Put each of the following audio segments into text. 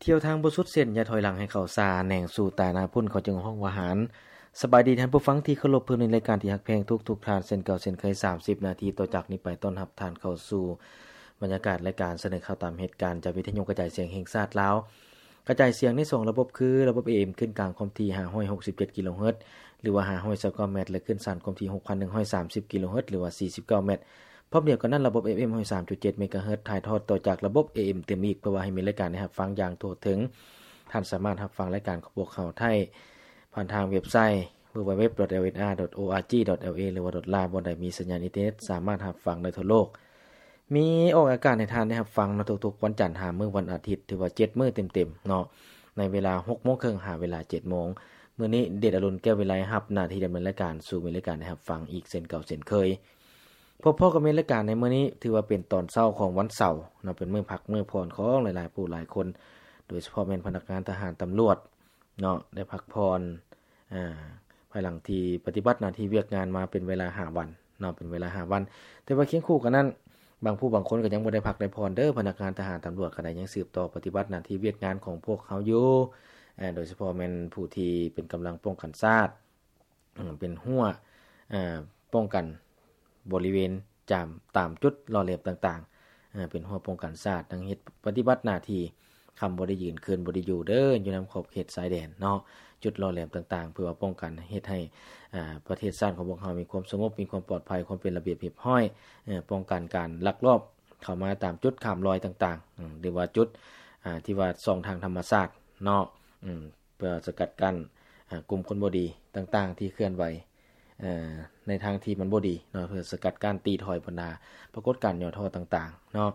ທ່ຽວທາງບໍ່ສຸດເສັ້ນ ຢ່າຖອຍຫຼັງໃຫ້ເຂົ້າຊ້າ ແໜງສູ່ຕາໜ້າພຸ້ນ ເຂົາຈຶ່ງຮ້ອງວ່າຫານ. ສະບາຍດີທ່ານຜູ້ຟັງທີ່ເຄົາລົບ, ພົບໃນລາຍການທີ່ຮັກແພງທຸກໆທ່ານ ເຊັ່ນເກົ່າເຊັ່ນເຄີຍ ສາມສິບນາທີຕໍ່ຈາກນີ້ໄປ ຕ້ອນຮັບທ່ານເຂົ້າສູ່ບັນຍາກາດລາຍການສະເໜີຂ່າວຕາມເຫດການ ຈາກວິທະຍຸກະຈາຍສຽງແຫ່ງຊາດລາວ. ກະຈາຍສຽງໃນສອງລະບົບຄື ລະບົບ ເອເອັມ ຂຶ້ນກາງຄວາມຖີ່ ຫ້າຮ້ອຍຫົກສິບເຈັດກິໂລເຮີດ ຫຼືວ່າ ຫ້າຮ້ອຍຊາວເກົ້າແມັດ ແລະ ຄື້ນສານຄວາມຖີ່ ຫົກພັນໜຶ່ງຮ້ອຍສາມສິບກິໂລເຮີດ ຫຼືວ່າ ສີ່ສິບເກົ້າແມັດ. ພ້ອມດຽວກັນນັ້ນ ລະບົບ ເອເອັມ ຮ້ອຍສາມຈຸດເຈັດເມກາເຮີດ ຖ່າຍທອດຕໍ່ຈາກລະບົບ ເອເອັມ ຕື່ມອີກ ເພື່ອວ່າໃຫ້ມີລາຍການໃຫ້ຮັບຟັງຢ່າງທົ່ວເຖິງ. ທ່ານສາມາດຮັບຟັງລາຍການຂອງພວກເຮົາໄດ້ຜ່ານທາງເວັບໄຊ www.lsr.org.la ຫຼືວ່າ .la ບ່ອນໃດມີສັນຍານອິນເຕີເນັດ ສາມາດຮັບຟັງໄດ້ທົ່ວໂລກ. ມີອອກອາກາດໃຫ້ທ່ານໄດ້ຮັບຟັງເນາະ ທຸກໆວັນຈັນຫາມື້ວັນອາທິດ ຖືວ່າເຈັດມື້ເຕັມໆເນາະ ໃນເວລາຫົກໂມງເຄິ່ງຫາເວລາເຈັດໂມງ. ມື້ນີ້ເດດອະລຸນ ແກ້ວວິໄລ ຮັບໜ້າທີ່ດຳເນີນລາຍການສູ່ມີລາຍການໄດ້ຮັບຟັງອີກເຊັ່ນເກົ່າເຊັ່ນເຄີຍ. ພົບພໍ້ກັບມີລາຍການໃນມື້ນີ້ ຖືວ່າເປັນຕອນເຊົ້າຂອງວັນເສົາເນາະ ເປັນມື້ພັກມື້ຜ່ອນຂອງຫຼາຍໆຜູ້ຫຼາຍຄົນ ໂດຍສະເພາະແມ່ນພະນັກງານທະຫານຕຳຫຼວດເນາະ ໄດ້ພັກຜ່ອນ ອາ ພາຍຫຼັງທີ່ປະຕິບັດໜ້າທີ່ວຽກງານມາເປັນເວລາຫ້າວັນເນາະ ເປັນເວລາຫ້າວັນ. ແຕ່ວ່າຄຽງຄູ່ກັນນັ້ນ ບາງຜູ້ບາງຄົນກໍຍັງບໍ່ໄດ້ພັກໄດ້ຜ່ອນເດີ້ ພະນັກງານທະຫານຕຳຫຼວດກໍໄດ້ຍັງສືບຕໍ່ປະຕິບັດໜ້າທີ່ວຽກງານຂອງພວກເຮົາຢູ່ ອາ ໂດຍສະເພາະແມ່ນຜູ້ທີ່ເປັນກຳລັງປ້ອງກັນຊາດ ເປັນຮົ້ວ ອາ ປ້ອງກັນບໍລິເວນຈາມ ຕາມຈຸດຫຼໍ່ແຫຼມຕ່າງໆ ເປັນຮົ້ວປ້ອງກັນຊາດ ຍັງເຮັດປະຕິບັດໜ້າທີ່ ຄ່ຳບໍ່ໄດ້ຢືນ ຄືນບໍ່ໄດ້ຢູ່ເດີ້ ຢູ່ນຳຂອບເຂດຊາຍແດນເນາະ ຈຸດຫຼໍ່ແຫຼມຕ່າງໆ ເພື່ອວ່າປ້ອງກັນເຮັດໃຫ້ ອາ ປະເທດຊາດຂອງພວກເຮົາມີຄວາມສະຫງົບ ມີຄວາມປອດໄພ ຄວາມເປັນລະບຽບຮຽບຮ້ອຍ ເອີ ປ້ອງກັນການລັກລອບເຂົ້າມາຕາມຈຸດຂ້າມລອຍຕ່າງໆ ອາ ຫຼືວ່າຈຸດ ອາ ທີ່ວ່າຊ່ອງທາງທຳມະຊາດເນາະ ອາ ເພື່ອສະກັດກັ້ນ ອາ ກຸ່ມຄົນບໍ່ດີຕ່າງໆ ທີ່ເຄື່ອນໄຫວ ເອີ ໃນທາງທີ່ມັນບໍ່ດີເນາະ ເພື່ອສະກັດກັ້ນຕີຖອຍບັນດາປາກົດການຫຍໍ້ທໍ້ຕ່າງໆເນາະ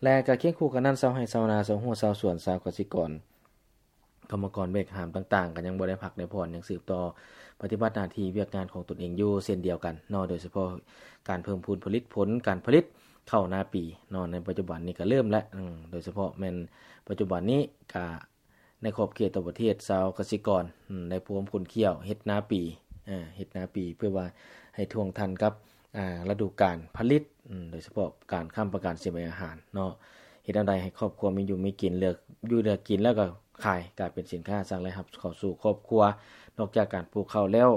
ແລະ ກໍຄຽງຄູ່ກັນນັ້ນ ຊາວໄຮ່ຊາວນາ ຊາວຮົ້ວຊາວສວນ ຊາວກະສິກອນ ກຳມະກອນແບກຫາມຕ່າງໆ ກໍຍັງບໍ່ໄດ້ພັກໄດ້ຜ່ອນ ຍັງສືບຕໍ່ປະຕິບັດໜ້າທີ່ວຽກງານຂອງຕົນເອງຢູ່ເຊັ່ນດຽວກັນເນາະ ໂດຍສະເພາະການເພີ່ມພູນຜະລິດຜົນການຜະລິດເຂົ້ານາປີເນາະ ໃນປັດຈຸບັນນີ້ກໍເລີ່ມແລ້ວ ໂດຍສະເພາະແມ່ນປັດຈຸບັນນີ້ກໍ ໃນຂອບເຂດທົ່ວປະເທດ ຊາວກະສິກອນ ອາ ໄດ້ພວມຂົນຂ້ຽວເຮັດນາປີ ເຮັດນາປີ ເພື່ອວ່າໃຫ້ທ່ວງທັນກັບ ອາ ລະດູການຜະລິດ ໂດຍສະເພາະການຄ້ຳປະກັນສິ່ງແວດອາຫານເນາະ ເຮັດແນວໃດໃຫ້ຄອບຄົວມີຢູ່ມີກິນ ເລືອກຢູ່ເລືອກກິນ ແລ້ວກໍຂາຍ ກາຍເປັນສິນຄ້າສ້າງລາຍຮັບເຂົ້າສູ່ຄອບຄົວ. ນອກຈາກການປູກເຂົ້າແລ້ວ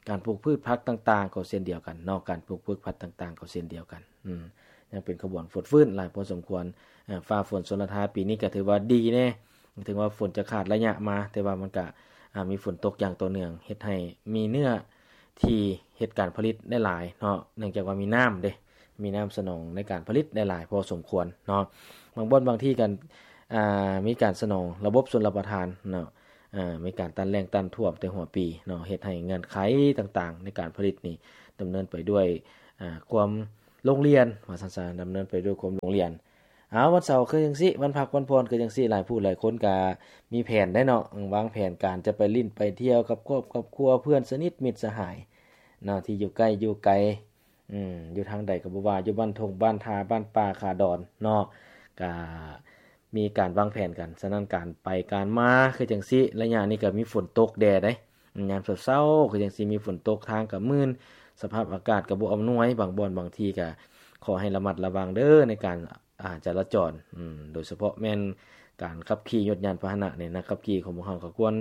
ການປູກພືດຜັກຕ່າງໆ ກໍເຊັ່ນດຽວກັນເນາະ ການປູກພືດຜັກຕ່າງໆ ກໍເຊັ່ນດຽວກັນ ອືມ ຍັງເປັນຂະບວນຟົດຟື້ນຫຼາຍພໍສົມຄວນ. ເອີ ຟ້າຝົນຊົນລະທາປີນີ້ກໍຖືວ່າດີແດ່ ເຖິງວ່າຝົນຈະຂາດໄລຍະມາ ແຕ່ວ່າມັນກະ ອາ ມີຝົນຕົກຢ່າງຕໍ່ເນື່ອງ ເຮັດໃຫ້ມີເນື້ອທີ່ເຮັດການຜະລິດໄດ້ຫຼາຍເນາະ ເນື່ອງຈາກວ່າມີນ້ຳເດ້ ມີນ້ຳສະໜອງໃນການຜະລິດໄດ້ຫຼາຍພໍສົມຄວນເນາະ. ບາງບ່ອນບາງທີ່ກໍ ອາ ມີການສະໜອງລະບົບຊົນລະປະທານເນາະ ອາ ມີການຕ້ານແລ້ງຕ້ານຖ້ວມແຕ່ຫົວປີເນາະ ເຮັດໃຫ້ເງື່ອນໄຂຕ່າງໆໃນການຜະລິດນີ້ດຳເນີນໄປດ້ວຍ ອາ ຄວາມລົງລຽນ ວ່າຊັ້ນຊະ ດຳເນີນໄປດ້ວຍຄວາມລົງລຽນ. ເອົາ ວັນເສົາຄືຈັ່ງຊີ້ ວັນພັກວັນຜ່ອນຄືຈັ່ງຊີ້ ຫຼາຍຜູ້ຫຼາຍຄົນກະມີແຜນໄດ໋ເນາະ ວາງແຜນການຈະໄປຫຼິ້ນໄປທ່ຽວກັບຄອບ ຄອບຄົວ ເພື່ອນສະໜິດມິດສະຫາຍເນາະ ທີ່ຢູ່ໃກ້ຢູ່ໄກ ອືມ ຢູ່ທາງໃດກໍບໍ່ວ່າ ຢູ່ບ້ານທົ່ງບ້ານທ່າ ບ້ານປ່າ ຄາດອນເນາະ ກະມີການວາງແຜນກັນ. ສະນັ້ນ ການໄປການມາຄືຈັ່ງຊີ້ ໄລຍະນີ້ກໍມີຝົນຕົກແດ່ໄດ໋ ຍາມເຊົ້າໆ ຄືຈັ່ງຊິມີຝົນຕົກ ທາງກໍມື່ນ ສະພາບອາກາດກໍບໍ່ອຳນວຍ ບາງບ່ອນບາງທີ່ກໍຂໍໃຫ້ລະມັດລະວັງເດີ້ ໃນການ ອາ ຈະລາຈອນ ໂດຍສະເພາະແມ່ນການຂັບຂີ່ຍົດຍານພາຫະນະນີ້ ນັກຂັບຂີ່ຂອງພວກເຮົາກໍຄວນ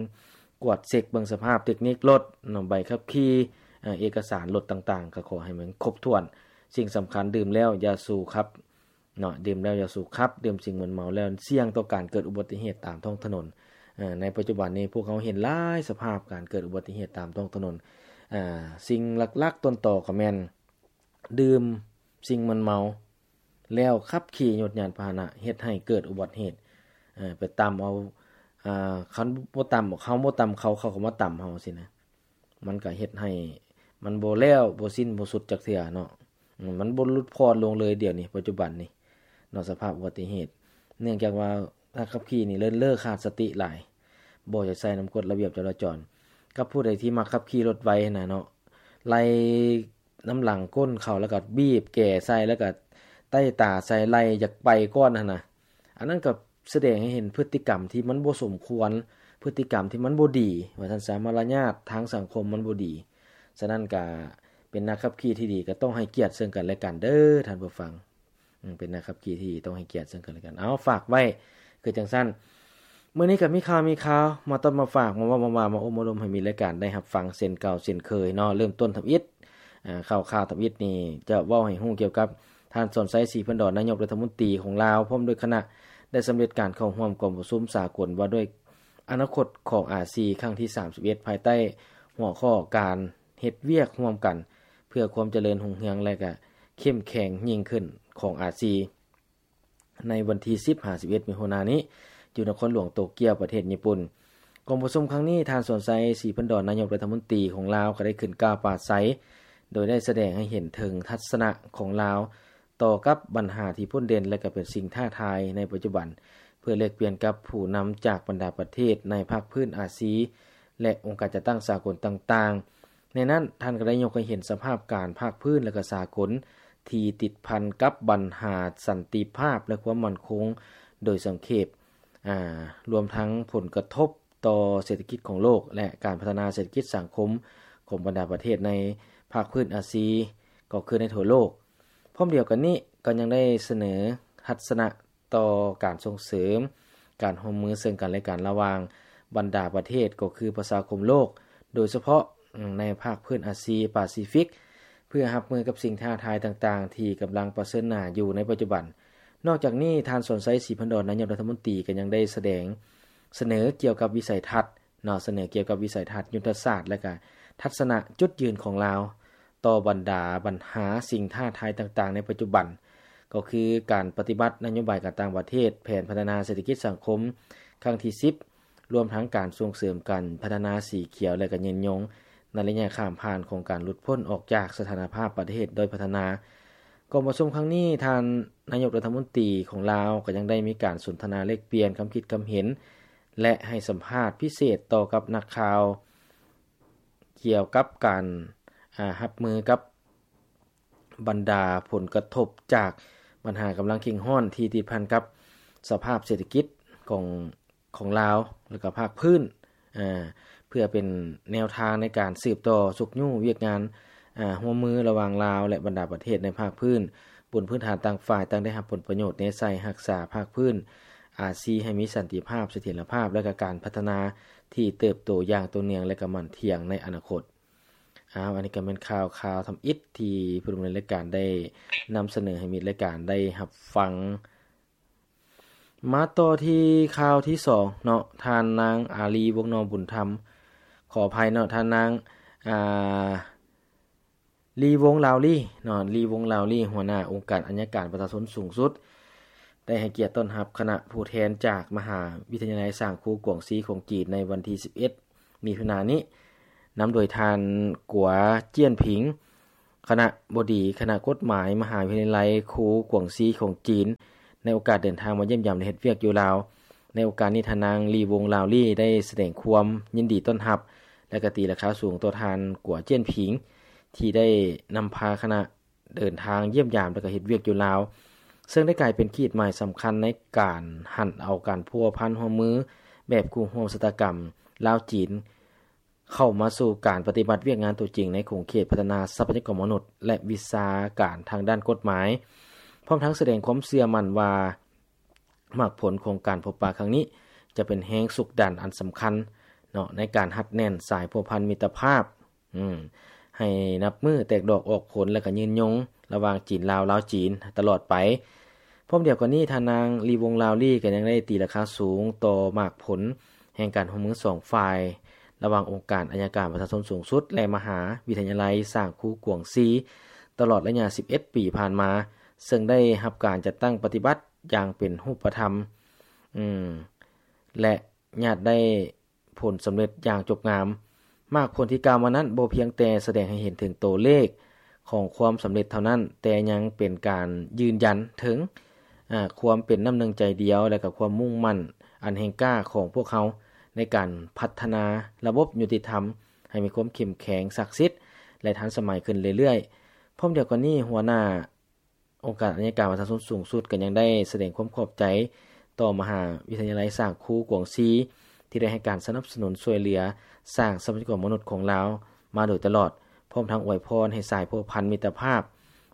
ກວດເຊັກເບິ່ງສະພາບເຕັກນິກລົດເນາະ ໃບຂັບຂີ່ ເອກະສານລົດຕ່າງໆ ກໍຂໍໃຫ້ມັນຄົບຖ້ວນ. ສິ່ງສຳຄັນ ດື່ມແລ້ວຢ່າສູບຂັບ ເນາະ ດື່ມແລ້ວຢ່າສູບຂັບ ດື່ມສິ່ງມຶນເມົາແລ້ວສ່ຽງຕໍ່ການເກີດອຸບັດຕິເຫດຕາມທ້ອງຖະໜົນ. ເອີ ໃນປັດຈຸບັນນີ້ພວກເຮົາເຫັນຫຼາຍສະພາບການເກີດອຸບັດຕິເຫດຕາມທ້ອງຖະໜົນ. ເອີ ສິ່ງຫຼັກໆຕົ້ນຕໍກໍແມ່ນດື່ມສິ່ງມຶນເມົາແລ້ວຂັບຂີ່ຍົດຍານພາຫະນະ ເຮັດໃຫ້ເກີດອຸບັດຕິເຫດ. ເອີ ໄປຕຳເອົາ ເອີ ຄັນບໍ່ຕຳ ເຮົາບໍ່ຕຳເຂົາ ເຂົາກໍມາຕຳເຮົາຊີ້ນະ. ມັນກະເຮັດໃຫ້ມັນບໍ່ແລ້ວ ບໍ່ສິ້ນ ບໍ່ສຸດຈັກເທື່ອເນາະ. ອືມ ມັນບໍ່ຫຼຸດຜ່ອນລົງເລີຍດຽວນີ້ ປັດຈຸບັນນີ້ເນາະ ສະພາບອຸບັດຕິເຫດ ເນື່ອງຈາກວ່ານັກຂັບຂີ່ນີ້ເລີນເລີຂາດສະຕິຫຼາຍ ບໍ່ຢາກໃສ່ນຳກົດລະບຽບຈະລາຈອນ. ກັບຜູ້ໃດທີ່ມັກຂັບຂີ່ລົດໄວຫັ້ນນະເນາະ ໄລ່ນຳຫຼັງກົ້ນເຂົາ ແລ້ວກໍບີບແກໃສ່ ແລ້ວກໍໄຕ້ຕາໃສ່ ໄລ່ຢາກໄປກ່ອນຫັ້ນນະ ອັນນັ້ນກໍ ສະແດງໃຫ້ເຫັນພຶດຕິກຳທີ່ມັນບໍ່ສົມຄວນ, ພຶດຕິກຳທີ່ມັນບໍ່ດີ ວ່າຊັ້ນຊະ, ມາລະຍາດທາງສັງຄົມມັນບໍ່ດີ. ສະນັ້ນກະເປັນນັກຂັບຂີ່ທີ່ດີ ກະຕ້ອງໃຫ້ກຽດເຊິ່ງກັນແລະກັນເດີທ່ານຜູ້ຟັງ. ເປັນນັກຂັບຂີ່ທີ່ດີຕ້ອງໃຫ້ກຽດເຊິ່ງກັນແລະກັນ. ເອົາ ຝາກໄວ້ຄືຈັ່ງຊັ້ນ. ມື້ນີ້ກໍມີຂ່າວ ມີຂ່າວມາຕ້ອນມາຝາກ ມາເວົ້າມາວ່າ ມາໂອ້ມາລົມໃຫ້ມິດລາຍການໄດ້ຮັບຟັງເຊັ່ນເກົ່າເຊັ່ນເຄີຍເນາະ. ເລີ່ມຕົ້ນທຳອິດ ອ່າ ຂ່າວໆທຳອິດນີ້ຈະເວົ້າໃຫ້ຮູ້ກ່ຽວກັບທ່ານ ສອນໄຊ ສີພັນດອນ ນາຍົກລັດຖະມົນຕີຂອງລາວ ພ້ອມດ້ວຍຄະນະ ໄດ້ສຳເລັດການເຂົ້າຮ່ວມກອງປະຊຸມສາກົນວ່າດ້ວຍອະນາຄົດຂອງອາຊີ ຄັ້ງທີສາມສິບເອັດ ພາຍໃຕ້ຫົວຂໍ້ການເຮັດວຽກຮ່ວມກັນເພື່ອຄວາມຈະເລີນຮຸ່ງເຮືອງ ແລະ ກະເຂັ້ມແຂງຍິ່ງຂຶ້ນຂອງອາຊີ ໃນວັນທີສິບຫາສິບເອັດ ມິຖຸນານີ້ ຢູ່ນະຄອນຫຼວງໂຕກຽວ ປະເທດຍີ່ປຸ່ນ. ກອງປະຊຸມຄັ້ງນີ້ ທ່ານ ສອນໄຊ ສີພັນດອນ ນາຍົກລັດຖະມົນຕີຂອງລາວ ກໍໄດ້ຂຶ້ນກ່າວປາໄສ ໂດຍໄດ້ສະແດງໃຫ້ເຫັນເຖິງທັດສະນະຂອງລາວຕໍ່ກັບບັນຫາທີ່ພົ້ນເດັ່ນ ແລະ ກໍເປັນສິ່ງທ້າທາຍໃນປັດຈຸບັນ ເພື່ອແລກປ່ຽນກັບຜູ້ນຳຈາກບັນດາປະເທດໃນພາກພື້ນອາຊີ ແລະ ອົງການຈັດຕັ້ງສາກົນຕ່າງໆ. ໃນນັ້ນ ທ່ານກໍໄດ້ຍົກໃຫ້ເຫັນສະພາບການພາກພື້ນ ແລະ ກໍສາກົນ ທີ່ຕິດພັນກັບບັນຫາສັນຕິພາບ ແລະ ຄວາມໝັ້ນຄົງໂດຍສັງເຂບ, ອາ, ລວມທັງຜົນກະທົບຕໍ່ເສດຖະກິດຂອງໂລກ ແລະ ການພັດທະນາເສດຖະກິດສັງຄົມຂອງບັນດາປະເທດໃນພາກພື້ນອາຊີ ກໍຄືໃນທົ່ວໂລກ. ພ້ອມດຽວກັນນີ້ ກໍຍັງໄດ້ສະເໜີທັດສະນະ ຕໍ່ການສົ່ງເສີມການຮ່ວມມືເຊິ່ງກັນ ແລະ ກັນລະຫວ່າງບັນດາປະເທດ ກໍຄືປະຊາຄົມໂລກ ໂດຍສະເພາະໃນພາກພື້ນອາຊີປາຊີຟິກ ເພື່ອຮັບມືກັບສິ່ງທ້າທາຍຕ່າງໆ ທີ່ກຳລັງປະເຊີນໜ້າຢູ່ໃນປັດຈຸບັນ. ນອກຈາກນີ້ ທ່ານ ສອນໄຊ ສີພັນດອນ ນາຍົກລັດຖະມົນຕີ ກໍຍັງໄດ້ສະແດງສະເໜີກ່ຽວກັບວິໄສທັດ ເນາະ ສະເໜີກ່ຽວກັບວິໄສທັດ, ຍຸດທະສາດ ແລະ ກະທັດສະນະຈຸດຢືນຂອງລາວຕໍ່ບັນດາບັນຫາສິ່ງທ້າທາຍຕ່າງໆໃນປັດຈຸບັນ ກໍຄືການປະຕິບັດນະໂຍບາຍການຕ່າງປະເທດ, ແຜນພັດທະນາເສດຖະກິດສັງຄົມຄັ້ງທີສິບ ລວມທັງການສົ່ງເສີມການພັດທະນາສີຂຽວ ແລະ ກະຍືນຍົງໃນໄລຍະຂ້າມຜ່ານຂອງການຫຼຸດພົ້ນອອກຈາກສະຖານະພາບປະເທດດ້ອຍພັດທະນາ. ກອງປະຊຸມຄັ້ງນີ້ ທ່ານນາຍົກລັດຖະມົນຕີຂອງລາວກໍຍັງໄດ້ມີການສົນທະນາແລກປ່ຽນຄຳຄິດຄຳເຫັນ ແລະ ໃຫ້ສຳພາດພິເສດຕໍ່ກັບນັກຂ່າວ ກ່ຽວກັບການ, ອາ, ຮັບມືກັບບັນດາຜົນກະທົບຈາກບັນຫາກຳລັງເຄັ່ງຮ້ອນທີ່ຕິດພັນກັບສະພາບເສດຖະກິດຂອງ, ຂອງລາວ ແລະ ກະພາກພື້ນ, ອາ, ເພື່ອເປັນແນວທາງໃນການສືບຕໍ່ຊຸກຍູ້ວຽກງານ, ອາ, ຮ່ວມມືລະຫວ່າງລາວ ແລະ ບັນດາປະເທດໃນພາກພື້ນ ບົນພື້ນຖານຕ່າງຝ່າຍຕ່າງໄດ້ຮັບຜົນປະໂຫຍດແນໃສ່ຮັກສາພາກພື້ນອາຊີໃຫ້ມີສັນຕິພາບ, ສະຖຽນລະພາບ ແລະ ກະການພັດທະນາທີ່ເຕີບໂຕຢ່າງຕໍ່ເນື່ອງ ແລະ ກະໝັ້ນທ່ຽງໃນອະນາຄົດ. ອ້າວ ອັນນີ້ກະແມ່ນຂ່າວ, ຂ່າວທຳອິດທີ່ຜູ້ດຳເນີນລາຍການໄດ້ນຳສະເໜີໃຫ້ມິດລາຍການໄດ້ຮັບຟັງ. ມາຕໍ່ທີ່ຂ່າວທີສອງເນາະ, ທ່ານນາງ ອາລີ ວົງນອມບຸນທຳ, ຂໍອະໄພເນາະ, ທ່ານນາງ ອາ ລີ ວົງລາວລີເນາະ, ລີ ວົງລາວລີ ຫົວໜ້າອົງການໄອຍະການປະຊາຊົນສູງສຸດ ໄດ້ໃຫ້ກຽດຕ້ອນຮັບຄະນະຜູ້ແທນຈາກມະຫາວິທະຍາໄລສ້າງຄູກວາງຊີຂອງຈີນໃນວັນທີສິບເອັດ ມິຖຸນານີ້ ນຳໂດຍທ່ານ ກົວ ຈຽນຜິງ ຄະນະບໍດີຄະນະກົດໝາຍມະຫາວິທະຍາໄລຄູກວາງຊີຂອງຈີນ ໃນໂອກາດເດີນທາງມາຢ້ຽມຢາມ ແລະ ເຮັດວຽກຢູ່ລາວ. ໃນໂອກາດນີ້ ທ່ານນາງ ລີ ວົງລາວລີ ໄດ້ສະແດງຄວາມຍິນດີຕ້ອນຮັບ ແລະ ກະຕີລາຄາສູງຕໍ່ທ່ານ ກົວ ຈຽນຜິງ ທີ່ໄດ້ນຳພາຄະນະເດີນທາງຢ້ຽມຢາມ ແລະ ກະເຮັດວຽກຢູ່ລາວ, ເຊິ່ງໄດ້ກາຍເປັນຂີດໝາຍສຳຄັນໃນການຫັນເອົາການພົວພັນຮ່ວມມືແບບຄູ່ຮ່ວມຊະຕາກຳລາວ-ຈີນ ເຂົ້າມາສູ່ການປະຕິບັດວຽກງານຕົວຈິງໃນຂົງເຂດພັດທະນາຊັບພະຍາກອນມະນຸດ ແລະ ວິຊາການທາງດ້ານກົດໝາຍ, ພ້ອມທັງສະແດງຄວາມເຊື່ອໝັ້ນວ່າ ໝາກຜົນຂອງການພົບປະຄັ້ງນີ້ ຈະເປັນແຮງຊຸກດັນອັນສຳຄັນເນາະ ໃນການຮັດແໜ້ນສາຍພົວພັນມິດຕະພາບ ອືມ ໃຫ້ນັບມື້ແຕກດອກອອກຜົນ ແລະ ກະຍືນຍົງລະຫວ່າງຈີນ-ລາວ, ລາວ-ຈີນ ຕະຫຼອດໄປ. ພ້ອມດຽວກັນນີ້ ທ່ານນາງ ລີ ວົງລາວລີ ກໍຍັງໄດ້ຕີລາຄາສູງຕໍ່ໝາກຜົນແຫ່ງການຮ່ວມມືສອງຝ່າຍ ລະຫວ່າງອົງການໄອຍະການປະຊາຊົນສູງສຸດ ແລະ ມະຫາວິທະຍາໄລສ້າງຄູກວາງຊີ ຕະຫຼອດໄລຍະສິບເອັດປີຜ່ານມາ, ເຊິ່ງໄດ້ຮັບການຈັດຕັ້ງປະຕິບັດ ຢ່າງເປັນຮູບປະທຳ ອືມ ແລະ ຍາດໄດ້ຜົນສຳເລັດຢ່າງຈົບງາມ. ໝາກຜົນທີ່ກ່າວມານັ້ນ ບໍ່ພຽງແຕ່ສະແດງໃຫ້ເຫັນເຖິງໂຕເລກຂອງຄວາມສຳເລັດເທົ່ານັ້ນ, ແຕ່ຍັງເປັນການຢືນຢັນເຖິງ, ອາ, ຄວາມເປັນນ້ຳໜຶ່ງໃຈດຽວ ແລະ ກະຄວາມມຸ່ງໝັ້ນອັນແຮງກ້າຂອງພວກເຮົາ ໃນການພັດທະນາລະບົບຍຸຕິທຳໃຫ້ມີຄວາມເຂັ້ມແຂງ, ສັກສິດ ແລະ ທັນສະໄໝຂຶ້ນເລື້ອຍໆ. ພ້ອມດຽວກັນນີ້, ຫົວໜ້າ ອົງການໄອຍະການປະຊາຊົນສູງສຸດກໍຍັງໄດ້ສະແດງຄວາມຂອບໃຈຕໍ່ມະຫາວິທະຍາໄລສ້າງຄູກວາງຊີ ທີ່ໄດ້ໃຫ້ການສະໜັບສະໜູນຊ່ວຍເຫຼືອສ້າງຊັບພະຍາກອນມະນຸດຂອງລາວມາໂດຍຕະຫຼອດ, ພ້ອມທັງອວຍພອນໃຫ້ສາຍພົວພັນມິດຕະພາບ,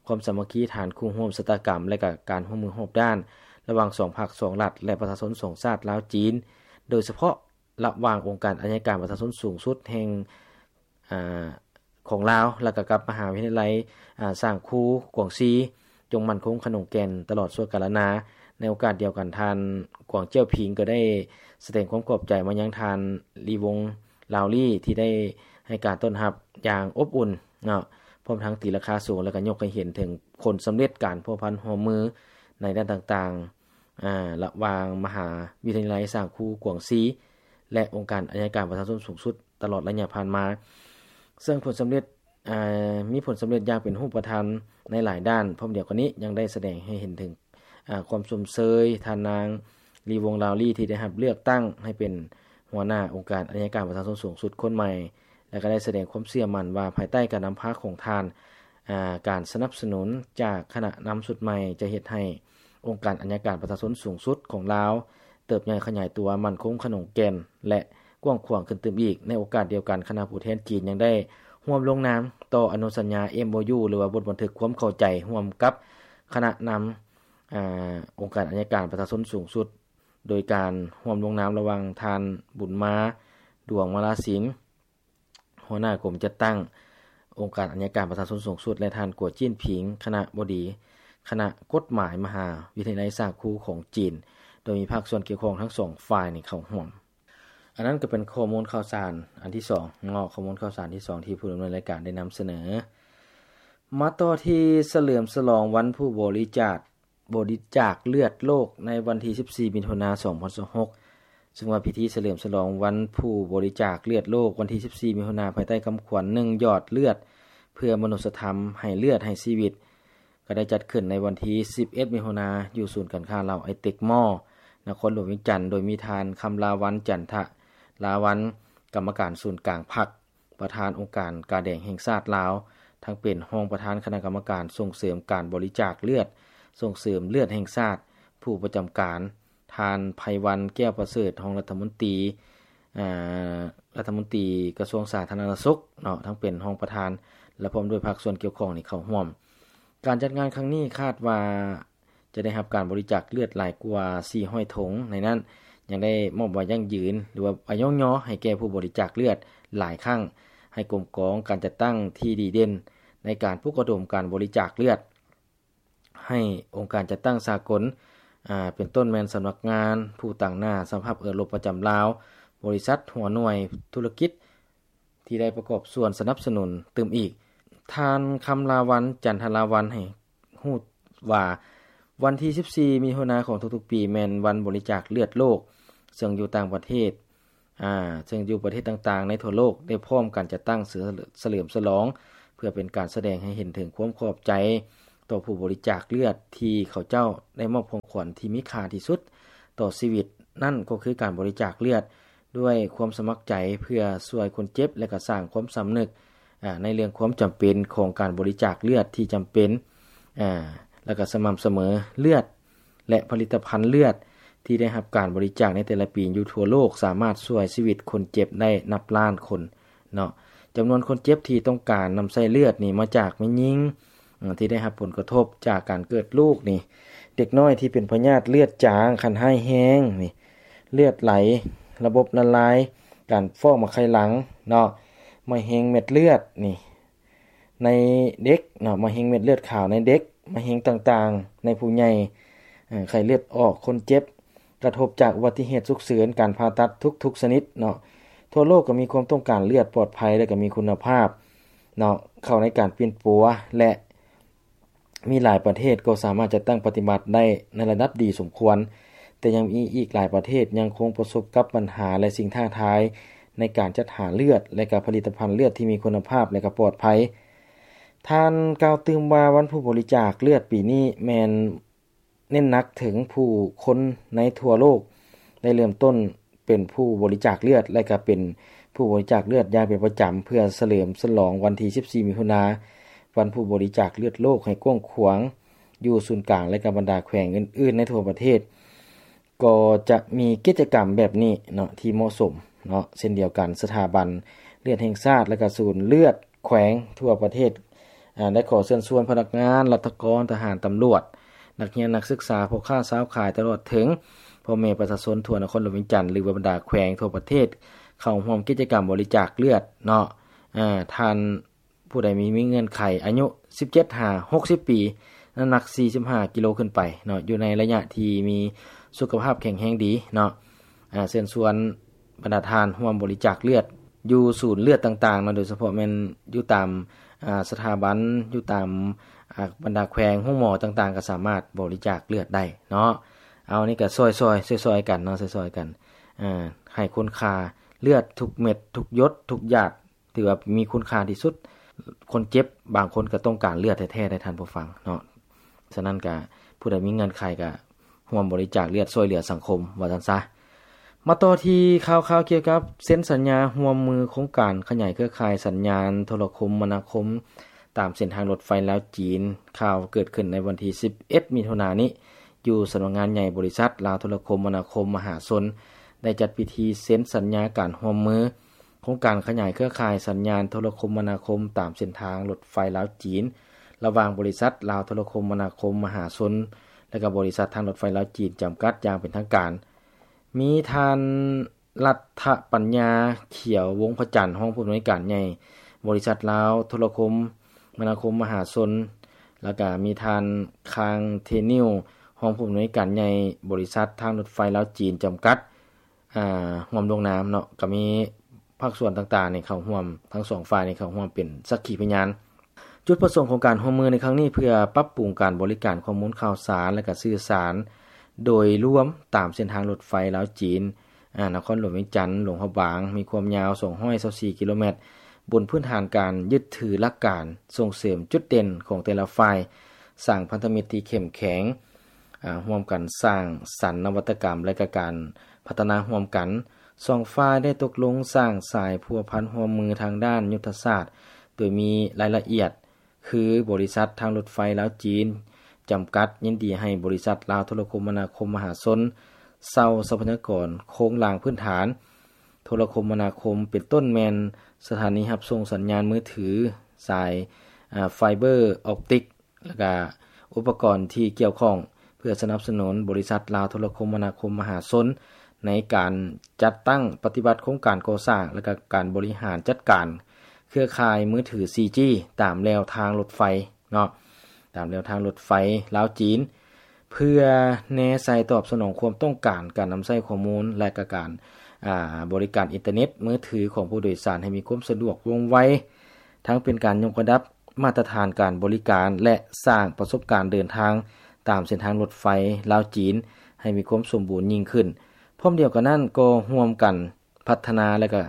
ຄວາມສາມັກຄີທາງຄູ່ຮ່ວມຊະຕາກຳ ແລະ ກະການຮ່ວມມືຮອບດ້ານລະຫວ່າງສອງພັກສອງລັດ ແລະ ປະຊາຊົນສອງຊາດລາວ-ຈີນ ໂດຍສະເພາະລະຫວ່າງອົງການໄອຍະການປະຊາຊົນສູງສຸດແຫ່ງ ອາ ຂອງລາວ ແລະ ກໍກັບມະຫາວິທະຍາໄລ ອາ ຊາງຄູກວາງຊີ ຈົ່ງໝັ້ນຄົງຂະໜົງແກ່ນຕະຫຼອດຊົ່ວກາລະນາ. ໃນໂອກາດດຽວກັນ ທ່ານ ກວາງ ເຈົ້ຽຜິງ ກໍໄດ້ສະແດງຄວາມຂອບໃຈມາຍັງທ່ານ ລີວົງ ລາວລີ ທີ່ໄດ້ໃຫ້ການຕ້ອນຮັບຢ່າງອົບອຸ່ນເນາະ, ພ້ອມທັງຕີລາຄາສູງ ແລະ ກໍຍົກໃຫ້ເຫັນເຖິງຜົນສຳເລັດການພົວພັນຮ່ວມມືໃນດ້ານຕ່າງໆ ອາ ລະຫວ່າງມະຫາວິທະຍາໄລຊາງຄູກວາງຊີ ແລະ ອົງການໄອຍະການປະຊາຊົນສູງສຸດ ຕະຫຼອດໄລຍະຜ່ານມາ, ເຊິ່ງຜົນສຳເລັດ ອາ ມີຜົນສຳເລັດຢ່າງເປັນຮູບປະທຳໃນຫຼາຍດ້ານ. ພ້ອມດຽວກັນນີ້ ຍັງໄດ້ສະແດງໃຫ້ເຫັນເຖິງ ອາ ຄວາມຊົມເຊີຍທ່ານນາງ ລີວົງ ລາວລີ ທີ່ໄດ້ຮັບເລືອກຕັ້ງໃຫ້ເປັນຫົວໜ້າອົງການໄອຍະການປະຊາຊົນສູງສຸດຄົນໃໝ່ ແລະ ກໍໄດ້ສະແດງຄວາມເຊື່ອໝັ້ນວ່າ ພາຍໃຕ້ການນຳພາຂອງທ່ານ, ອາ ການສະໜັບສະໜູນຈາກຄະນະນຳຊຸດໃໝ່ ຈະເຮັດໃຫ້ອົງການໄອຍະການປະຊາຊົນສູງສຸດຂອງລາວ ເຕີບໃຫຍ່ຂະຫຍາຍຕົວ, ໝັ້ນຄົງຂະໜົງແກ່ນ ແລະ ກວ້າງຂວາງຂຶ້ນຕື່ມອີກ. ໃນໂອກາດດຽວກັນ, ຄະນະຜູ້ແທນຈີນຍັງໄດ້ຮ່ວມລົງນາມຕໍ່ອະນຸສັນຍາ ເອັມໂອຢູ ຫຼືວ່າບົດບັນທຶກຄວາມເຂົ້າໃຈຮ່ວມກັບຄະນະນຳ ອາ ອົງການໄອຍະການປະຊາຊົນສູງສຸດ ໂດຍການຮ່ວມລົງນາມລະຫວ່າງທ່ານ ບຸນມາ ດວງມາລາສິງ ຫົວໜ້າກົມຈັດຕັ້ງອົງການໄອຍະການປະຊາຊົນສູງສຸດ ແລະ ທ່ານ ກົວ ຈິ້ນຜິງ ຄະນະບໍດີຄະນະກົດໝາຍມະຫາວິທະຍາໄລຊາງຄູຂອງຈີນ, ໂດຍມີພາກສ່ວນກ່ຽວຂ້ອງທັງສອງຝ່າຍນີ້ເຂົ້າຮ່ວມ. ອັນນັ້ນກໍເປັນຂໍ້ມູນຂ່າວສານອັນທີສອງເນາະ, ຂໍ້ມູນຂ່າວສານທີສອງທີ່ຜູ້ດຳເນີນລາຍການໄດ້ນຳສະເໜີ. ມາຕໍ່ທີ່ສະເຫຼີມສະຫຼອງວັນຜູ້ບໍລິຈາກ ບໍລິຈາກເລືອດໂລກໃນວັນທີສິບສີ່ ມິຖຸນາ ສອງພັນຊາວຫົກ ເຊິ່ງວ່າພິທີສະເຫຼີມສະຫຼອງວັນຜູ້ບໍລິຈາກເລືອດໂລກວັນທີສິບສີ່ ມິຖຸນາ ພາຍໃຕ້ຄຳຂວັນ ໜຶ່ງ ຢອດເລືອດເພື່ອມະນຸດສະທຳ ໃຫ້ເລືອດໃຫ້ຊີວິດ ກໍໄດ້ຈັດຂຶ້ນໃນວັນທີສິບເອັດ ມິຖຸນາ ຢູ່ສູນການຄ້າລາວໄອເຕັກມໍ ນະຄອນຫຼວງວຽງຈັນ, ໂດຍມີທ່ານ ຄຳລາວັນ ຈັນທະລາວັນ ກຳມະການສູນກາງພັກ ປະທານອົງການກາແດງແຫ່ງຊາດລາວ, ທັງເປັນຮອງປະທານຄະນະກຳມະການສົ່ງເສີມການບໍລິຈາກເລືອດ, ສົ່ງເສີມເລືອດແຫ່ງຊາດ, ຜູ້ປະຈຳການ, ທ່ານ ໄພວັນ ແກ້ວປະເສີດ ຮອງລັດຖະມົນຕີ ອາ ລັດຖະມົນຕີກະຊວງສາທາລະນະສຸກເນາະ, ທັງເປັນຮອງປະທານ ແລະ ພ້ອມດ້ວຍພາກສ່ວນກ່ຽວຂ້ອງນີ້ເຂົ້າຮ່ວມ. ການຈັດງານຄັ້ງນີ້ຄາດວ່າ ຈະໄດ້ຮັບການບໍລິຈາກເລືອດຫຼາຍກວ່າສີ່ຮ້ອຍຖົງ, ໃນນັ້ນຍັງໄດ້ມອບໃບຢັ້ງຢືນ ຫຼືວ່າໃບຍ້ອງຍໍໃຫ້ແກ່ຜູ້ບໍລິຈາກເລືອດຫຼາຍຄັ້ງ, ໃຫ້ກົມກອງການຈັດຕັ້ງທີ່ດີເດັ່ນໃນການປຸກລະດົມການບໍລິຈາກເລືອດ, ໃຫ້ອົງການຈັດຕັ້ງສາກົນ ອາ ເປັນຕົ້ນແມ່ນສຳນັກງານຜູ້ຕາງໜ້າສະຫະພາບເອີຣົບປະຈຳລາວ, ບໍລິສັດ, ຫົວໜ່ວຍທຸລະກິດ ທີ່ໄດ້ປະກອບສ່ວນສະໜັບສະໜູນຕື່ມອີກ. ທ່ານ ຄຳລາວັນ ຈັນທະລາວັນ ໃຫ້ຮູ້ວ່າ ວັນທີສິບສີ່ ມິຖຸນາຂອງທຸກໆປີ ແມ່ນວັນບໍລິຈາກເລືອດໂລກ, ເຊິ່ງຢູ່ຕ່າງປະເທດ ອາ ເຊິ່ງຢູ່ປະເທດຕ່າງໆໃນທົ່ວໂລກ ໄດ້ພ້ອມກັນຈັດຕັ້ງສະເຫຼີມສະຫຼອງ ເພື່ອເປັນການສະແດງໃຫ້ເຫັນເຖິງຄວາມຂອບໃຈຕໍ່ຜູ້ບໍລິຈາກເລືອດ ທີ່ເຂົາເຈົ້າໄດ້ມອບຂອງຂວັນທີ່ມີຄ່າທີ່ສຸດຕໍ່ຊີວິດ, ນັ້ນກໍຄືການບໍລິຈາກເລືອດ ດ້ວຍຄວາມສະໝັກໃຈເພື່ອຊ່ວຍຄົນເຈັບ ແລະ ກະສ້າງຄວາມສຳນຶກ ອາ ໃນເລື່ອງຄວາມຈຳເປັນຂອງການບໍລິຈາກເລືອດທີ່ຈຳເປັນ ອາ ແລະ ກະສະໝ່ຳສະເໝີ. ເລືອດ ແລະ ຜະລິດຕະພັນເລືອດທີ່ໄດ້ຮັບການບໍລິຈາກໃນແຕ່ລະປີຢູ່ທົ່ວໂລກ ສາມາດຊ່ວຍຊີວິດຄົນເຈັບໄດ້ນັບລ້ານຄົນເນາະ. ຈຳນວນຄົນເຈັບທີ່ຕ້ອງການນຳໃຊ້ເລືອດນີ້ມາຈາກແມ່ຍິງ ອາ ທີ່ໄດ້ຮັບຜົນກະທົບຈາກການເກີດລູກນີ້, ເດັກນ້ອຍທີ່ເປັນພະຍາດເລືອດຈາງຂັ້ນຮ້າຍແຮງນີ້, ເລືອດໄຫຼລະບົບລະລາຍ, ການຟອກໝາກໄຂ່ຫຼັງເນາະ, ມະເຮັງເມັດເລືອດນີ້ໃນເດັກເນາະ, ມະເຮັງເມັດເລືອດຂາວໃນເດັກ, ມະເຮັງຕ່າງໆໃນຜູ້ໃຫຍ່, ເອີ ໄຂ້ເລືອດອອກ, ຄົນເຈັບ, ກະທົບຈາກອຸບັດຕິເຫດສຸກເສີນ, ການຜ່າຕັດທຸກໆຊະນິດເນາະ. ທົ່ວໂລກກໍມີຄວາມຕ້ອງການເລືອດປອດໄພ ແລະ ກໍມີຄຸນນະພາບເນາະ ເຂົ້າໃນການປິ່ນປົວ ແລະ ມີຫຼາຍປະເທດກໍສາມາດຈັດຕັ້ງປະຕິບັດໄດ້ໃນລະດັບດີສົມຄວນ, ແຕ່ຍັງມີອີກຫຼາຍປະເທດຍັງຄົງປະສົບກັບບັນຫາ ແລະ ສິ່ງທ້າທາຍໃນການຈັດຫາເລືອດ ແລະ ກະຜະລິດຕະພັນເລືອດທີ່ມີຄຸນນະພາບ ແລະ ກະປອດໄພ. ທ່ານກ່າວຕື່ມວ່າ ວັນຜູ້ບໍລິຈາກເລືອດປີນີ້ແມ່ນ ເນັ້ນໜັກເຖິງຜູ້ຄົນໃນທົ່ວໂລກໄດ້ເລີ່ມຕົ້ນເປັນຜູ້ບໍລິຈາກເລືອດ ແລະ ກະເປັນຜູ້ບໍລິຈາກເລືອດຢ່າງເປັນປະຈຳ ເພື່ອສະເຫຼີມສະຫຼອງວັນທີສິບສີ່ ມິຖຸນາ ວັນຜູ້ບໍລິຈາກເລືອດໂລກໃຫ້ກວ້າງຂວາງຢູ່ສູນກາງ ແລະ ກະບັນດາແຂວງອື່ນໆໃນທົ່ວປະເທດ ກໍຈະມີກິດຈະກຳແບບນີ້ເນາະ ທີ່ເໝາະສົມເນາະ ເຊັ່ນດຽວກັນ. ສະຖາບັນເລືອດແຫ່ງຊາດ ແລະ ກະສູນເລືອດແຂວງທົ່ວປະເທດ ອາ ໄດ້ຂໍເຊີນຊວນພະນັກງານ, ລັດຖະກອນ, ທະຫານ, ຕຳຫຼວດ, ນັກຮຽນ, ນັກສຶກສາ, ພໍ່ຄ້າຊາວຂາຍ ຕະຫຼອດເຖິງ ພໍ່ແມ່ປະຊາຊົນທົ່ວນະຄອນຫຼວງວຽງຈັນ ຫຼືວ່າບັນດາແຂວງທົ່ວປະເທດ ເຂົ້າຮ່ວມກິດຈະກຳບໍລິຈາກເລືອດເນາະ. ເອີ ທ່ານຜູ້ໃດມີ ມີເງື່ອນໄຂອາຍຸສິບເຈັດຫາຫົກສິບປີ, ນ້ຳໜັກສີ່ສິບຫ້າກິໂລຂຶ້ນໄປເນາະ, ຢູ່ໃນໄລຍະທີ່ມີສຸຂະພາບແຂງແຮງດີເນາະ, ເຊີນຊວນບັນດາທ່ານຮ່ວມບໍລິຈາກເລືອດຢູ່ສູນເລືອດຕ່າງໆເນາະ, ໂດຍສະເພາະແມ່ນຢູ່ຕາມ ອາ ສະຖາບັນ ຢູ່ຕາມ ອາ ບັນດາແຂວງໂຮງໝໍຕ່າງໆ ກໍສາມາດບໍລິຈາກເລືອດໄດ້ເນາະ. ເອົາ ນີ້ກໍຊ່ອຍໆ ຊ່ອຍໆກັນເນາະ, ຊ່ອຍໆກັນ ອາ ໃຫ້ຄຸນຄ່າເລືອດທຸກເມັດ ທຸກຢົດ ທຸກຢາດ ຖືວ່າມີຄຸນຄ່າທີ່ສຸດ. ຄົນເຈັບບາງຄົນກໍຕ້ອງການເລືອດແທ້ໆ ໃດທ່ານຜູ້ຟັງເນາະ. ສະນັ້ນກະ ຜູ້ໃດມີເງື່ອນໄຂກະຮ່ວມບໍລິຈາກເລືອດຊ່ວຍເຫຼືອສັງຄົມ ວ່າຊັ້ນຊະ. ມາຕໍ່ທີ່ຂ່າວໆກ່ຽວກັບເຊັນສັນຍາຮ່ວມມືໂຄງການຂະຫຍາຍເຄືອຂ່າຍສັນຍານໂທລະຄົມມະນາຄົມຕາມເສັ້ນທາງລົດໄຟລາວ-ຈີນ. ຂ່າວເກີດຂຶ້ນໃນວັນທີສິບເອັດ ມິຖຸນານີ້ ຢູ່ສຳນັກງານໃຫຍ່ບໍລິສັດລາວໂທລະຄົມມະນາຄົມມະຫາຊົນ ໄດ້ຈັດພິທີເຊັນສັນຍາການຮ່ວມມື ໂຄງການຂະຫຍາຍເຄືອຂ່າຍສັນຍານໂທລະຄົມມະນາຄົມຕາມເສັ້ນທາງລົດໄຟລາວ-ຈີນ ລະຫວ່າງບໍລິສັດລາວໂທລະຄົມມະນາຄົມມະຫາຊົນ ແລະ ກໍບໍລິສັດທາງລົດໄຟລາວ-ຈີນ ຈຳກັດ ຢ່າງເປັນທາງການ. ມີທ່ານ ລັດຖະປັນຍາ ຂຽວວົງພະຈັນ ຮອງຜູ້ອຳນວຍການໃຫຍ່ບໍລິສັດລາວໂທລະຄົມມະນາຄົມມະຫາຊົນ ແລ້ວກະມີທ່ານ ຄາງ ເທນິວ ຮອງຜູ້ອຳນວຍການໃຫຍ່ບໍລິສັດທາງລົດໄຟລາວ-ຈີນ ຈຳກັດ ອາ ຮ່ວມລົງນາມເນາະ. ກໍມີພາກສ່ວນຕ່າງໆນີ້ເຂົ້າຮ່ວມ, ທັງສອງຝ່າຍນີ້ເຂົ້າຮ່ວມເປັນສັກຂີພະຍານ. ຈຸດປະສົງຂອງການຮ່ວມມືໃນຄັ້ງນີ້ ເພື່ອປັບປຸງການບໍລິການຂໍ້ມູນຂ່າວສານ ແລະ ກະສື່ສານໂດຍລວມຕາມເສັ້ນທາງລົດໄຟລາວ-ຈີນ ອາ ນະຄອນຫຼວງວຽງຈັນ ຫຼວງພະບາງ ມີຄວາມຍາວສອງຮ້ອຍຊາວສີ່ກິໂລແມັດ ບົນພື້ນຖານການຍຶດຖືຫຼັກການສົ່ງເສີມຈຸດເດັ່ນຂອງແຕ່ລະຝ່າຍ, ສ້າງພັນທະມິດທີ່ເຂັ້ມແຂງ, ອາ ຮ່ວມກັນສ້າງສັນນະວັດຕະກຳ ແລະ ກະການພັດທະນາຮ່ວມກັນ. ສອງຝ່າຍໄດ້ຕົກລົງສ້າງສາຍພົວພັນຮ່ວມມືທາງດ້ານຍຸດທະສາດ ໂດຍມີລາຍລະອຽດ ຄື ບໍລິສັດທາງລົດໄຟລາວ-ຈີນ ຈຳກັດ ຍິນດີໃຫ້ບໍລິສັດລາວໂທລະຄົມມະນາຄົມມະຫາຊົນ ເຊົ່າຊັບພະຍາກອນໂຄງລ່າງພື້ນຖານໂທລະຄົມມະນາຄົມ ເປັນຕົ້ນແມ່ນສະຖານີຮັບສົ່ງສັນຍານມືຖື, ສາຍ ອາ ໄຟເບີອອບຕິກ ແລະ ກະອຸປະກອນທີ່ກ່ຽວຂ້ອງ ເພື່ອສະໜັບສະໜູນບໍລິສັດລາວໂທລະຄົມມະນາຄົມມະຫາຊົນ ໃນການຈັດຕັ້ງປະຕິບັດໂຄງການກໍ່ສ້າງ ແລະ ກະການບໍລິຫານຈັດການເຄືອຂ່າຍມືຖື ສີ່ຈີ ຕາມແລວທາງລົດໄຟເນາະ, ຕາມແລວທາງລົດໄຟລາວ-ຈີນ ເພື່ອແນໃສ່ຕອບສະໜອງຄວາມຕ້ອງການການນຳໃຊ້ຂໍ້ມູນ ແລະ ກະການ ອາ ບໍລິການອິນເຕີເນັດມືຖືຂອງຜູ້ໂດຍສານໃຫ້ມີຄວາມສະດວກວ່ອງໄວ, ທັງເປັນການຍົກລະດັບມາດຕະຖານການບໍລິການ ແລະ ສ້າງປະສົບການເດີນທາງຕາມເສັ້ນທາງລົດໄຟລາວ-ຈີນ ໃຫ້ມີຄວາມສົມບູນຍິ່ງຂຶ້ນ. ພ້ອມດຽວກັນນັ້ນ ກໍຮ່ວມກັນພັດທະນາ ແລະ ກະ